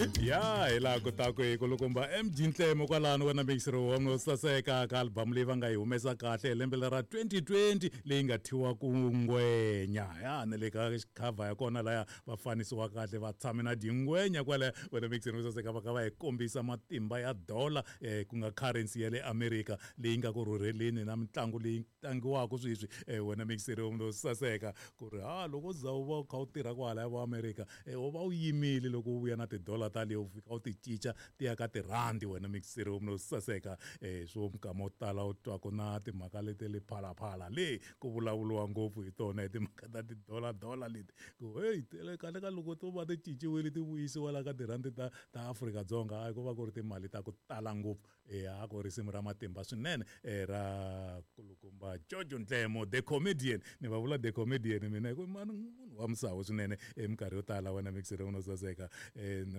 Ya hi laha kotaka hi kulukumba MG Ntlemo kwalano wena mixero wa no saseka ka album leyi va nga yi humesa kahle hi lembe ra 2020 leyi nga thyiwa ku ngwenya. Ya na le ka cover ya kona laya va fanisiwa kahle va tshame na dingwenya kwala wena mixero wo saseka va ka va hi kombisa matimba ya dollar ku nga currency ya le America leyi nga ku rhurheleni na mitlangu leyi tlangiwaka sweswi wena mixero wo saseka ku ri ha loko u za u va u kha u tirha kwahala ya vo America u va u yimile loko u vuya na tidollar ta le u fika u ti cinca ti ya ka tirhandi wena mixero wo saseka swo minkama wo tala u twa ku na timhaka leti le phalaphala le ku vulavuriwa ngopfu hi tona hi timhaka ta tidollar dollar leti ku heyi tele kahle ka loko to va ti cinciwile ti vuyisiwa la ka tirhandi ta ta Afrika-Dzonga a ku va ku ri timali ta ku tala ngopfu. A ku risimu ra matimba swinene ra kulukumba Jojo Ntlemo the comedian. Ni va vula the comedian mina hi ku mani munhu wa misawu swinene minkarhi yo tala wena mixere uno saseka.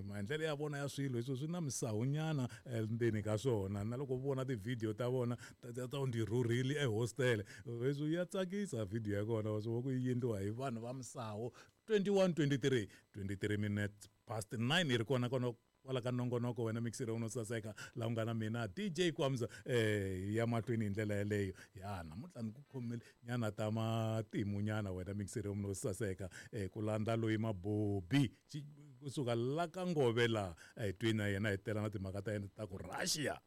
Maendlelo ya vona ya swilo leswi swi na misawu nyana endzeni ka swona na loko u vona ti-video ta vona ta ta ndzi rhurhile ehostel leswi ya tsakisa video ya kona wa swi vona ku yi endliwa hi vanhu va misawu. 21 23 23 minutes past 9 hi ri kona kona kwala ka nongonoko wena mixere uno saseka la u nga na mina DJ Kwamza ya mahlweni hi ndlela yeleyo. Ya namuntlha ni ku khomele nyana ta matimu nyana wena mixere uno saseka ku landza loyi Mabobi kusuka la ka Ngove la a hi tweni na yena hi tela na timhaka ta yena ta ku Russia.